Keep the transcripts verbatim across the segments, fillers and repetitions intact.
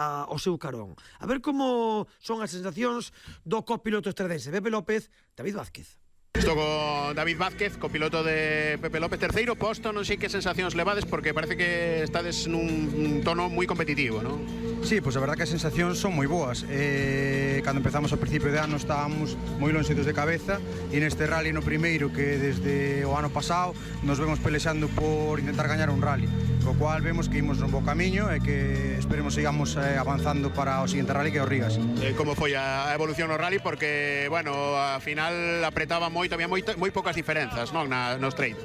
ao seu carón. A ver como son as sensacións do copiloto estredense Pepe López, David Vázquez. Estou con David Vázquez, copiloto de Pepe López, terceiro posto, non sei que sensacións levades porque parece que estades nun tono moi competitivo, non? Sí, pois pues a verdad que as sensacións son moi boas. Eh, cando empezamos ao principio de ano estábamos moi lonxitos de cabeza e neste rally no primeiro que desde o ano pasado nos vemos pelexando por intentar gañar un rally, co cual vemos que imos nun bo camiño e que esperemos sigamos eh, avanzando para o seguinte rally que é o Rigas. Eh, como foi a evolución no rally? Porque, bueno, a final apretaba moito, había moi, moi poucas diferenzas, non, na, nos treinos.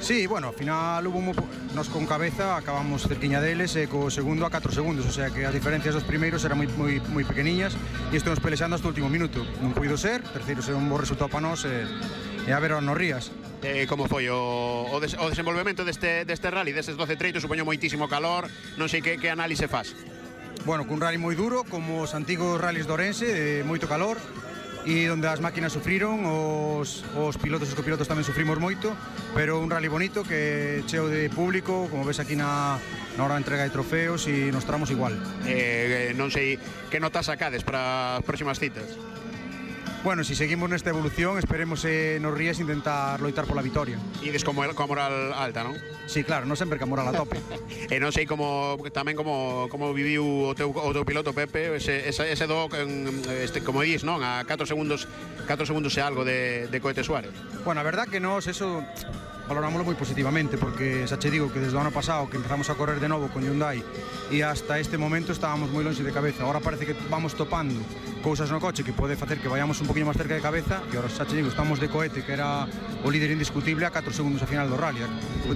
Sí, bueno, ao final hubo mo... nos con cabeza acabamos cerquiña deles e co segundo a catro segundos, o sea que as diferencias dos primeiros eran moi, moi, moi pequeniñas e estamos pelexando hasta o último minuto. Non puido ser, terceiro ser un bo resultado para nós e, e a ver nos Rías. Eh, como foi o, o, des, o desenvolvemento deste, deste rally, destes doce treitos, supoño moitísimo calor, non sei que, que análise faz. Bueno, cun rally moi duro, como os antigos rallies de Ourense, de moito calor, e onde as máquinas sufriron, os, os pilotos e os copilotos tamén sufrimos moito, pero un rally bonito que cheo de público, como ves aquí na, na hora de entrega de trofeos, e nos tramos igual. Eh, non sei que notas sacades para as próximas citas. Bueno, si seguimos nesta evolución, esperemos eh, nos Rías intentar loitar pola vitoria. Ides como coa moral alta, non? Sí, claro, non sempre que a moral a tope. E non sei como tamén como como viviu o teu o teu piloto Pepe, ese ese ese do este como dis, non, a catro segundos, catro segundos e algo de de Cohete Suárez. Bueno, a verdad que nós eso valorámoslo moi positivamente porque xa che digo que desde o ano pasado que empezamos a correr de novo con Hyundai e hasta este momento estábamos moi longe de cabeza. Agora parece que vamos topando cousas no coche que pode facer que vayamos un poquinho máis cerca de cabeza e agora xa che digo, estamos de Cohete que era o líder indiscutible a catro segundos a final do rally,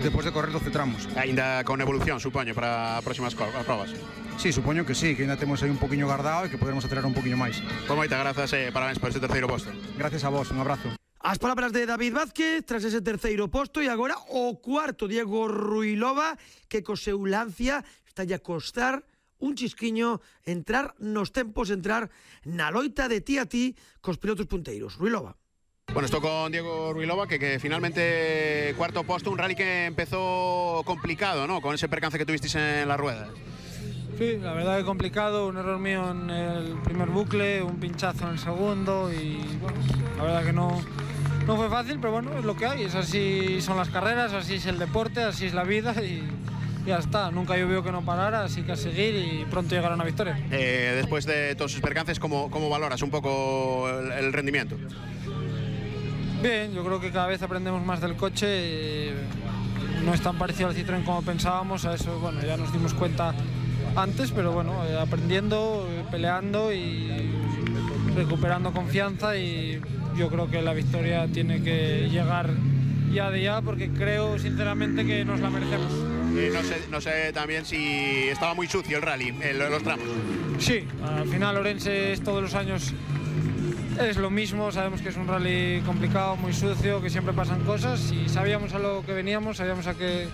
depois de correr doce tramos. Ainda con evolución, supoño, para as próximas probas. Sí, supoño que sí, que ainda temos aí un poquinho guardado e que poderemos acelerar un poquinho máis. Con moitas grazas e parabéns por este terceiro posto. Gracias a vos, un abrazo. As palabras de David Vázquez tras ese terceiro posto e agora o cuarto Diego Ruilova que co seu Lancia está a costar un chisquiño entrar nos tempos, entrar na loita de ti a ti cos pilotos punteiros. Ruilova. Bueno, estou con Diego Ruilova que, que finalmente cuarto posto, un rally que empezó complicado, ¿no? Con ese percance que tuvisteis en la rueda. Sí, la verdad que complicado, un error mío en el primer bucle, un pinchazo en el segundo y bueno, la verdad que no, no fue fácil, pero bueno, es lo que hay, es así son las carreras, así es el deporte, así es la vida y ya está, nunca llovió que no parara, así que a seguir y pronto llegará una victoria. Eh, después de todos sus percances, ¿cómo, cómo valoras un poco el, el rendimiento? Bien, yo creo que cada vez aprendemos más del coche, eh, no es tan parecido al Citroën como pensábamos, a eso bueno, ya nos dimos cuenta antes, pero bueno, eh, aprendiendo, eh, peleando y recuperando confianza y yo creo que la victoria tiene que llegar ya de ya porque creo sinceramente que nos la merecemos. Eh, no sé, no sé también si estaba muy sucio el rally, el, los tramos. Sí, al final Ourense es todos los años es lo mismo, sabemos que es un rally complicado, muy sucio, que siempre pasan cosas y sabíamos a lo que veníamos, sabíamos a qué,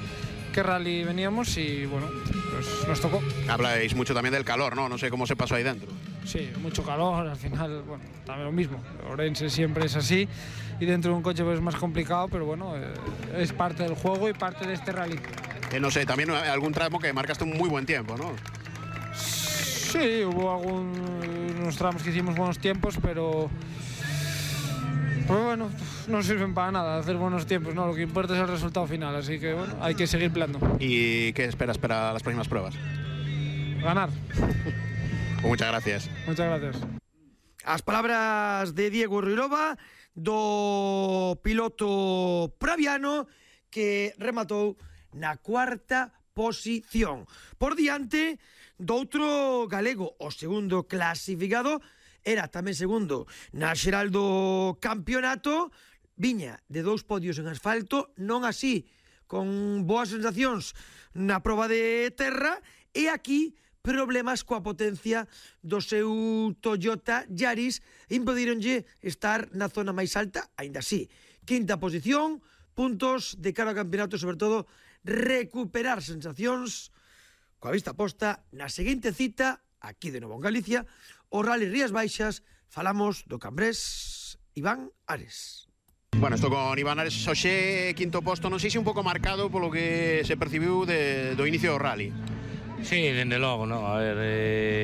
qué rally veníamos y bueno, pues nos tocó. Habláis mucho también del calor, ¿no? No sé cómo se pasó ahí dentro. Sí, mucho calor, al final, bueno, también lo mismo. Ourense siempre es así y dentro de un coche pues es más complicado, pero bueno, eh, es parte del juego y parte de este rally. Eh, no sé, también algún tramo que marcaste un muy buen tiempo, ¿no? Sí, hubo algunos tramos que hicimos buenos tiempos, pero pues bueno, no sirven para nada hacer buenos tiempos, ¿no? Lo que importa es el resultado final, así que bueno, hay que seguir peleando. ¿Y qué esperas para las próximas pruebas? Ganar. Pues muchas gracias. Muchas gracias. As palabras de Diego Ruilova, do piloto praviano que rematou na cuarta posición. Por diante do outro galego, o segundo clasificado, era tamén segundo na xeral do campeonato, viña de dous podios en asfalto, non así, con boas sensacións na proba de terra, e aquí problemas coa potencia do seu Toyota Yaris impedironlle estar na zona máis alta, aínda así. Quinta posición, puntos de cara ao campeonato, sobre todo recuperar sensacións coa vista posta na seguinte cita aquí de novo en Galicia, o Rally Rías Baixas. Falamos do cambrés Iván Ares. Bueno, estou con Iván Ares, hoxe quinto posto, non sei se un pouco marcado polo que se percibiu de, do inicio do rally. Sí, dende logo, non? A ver, eh,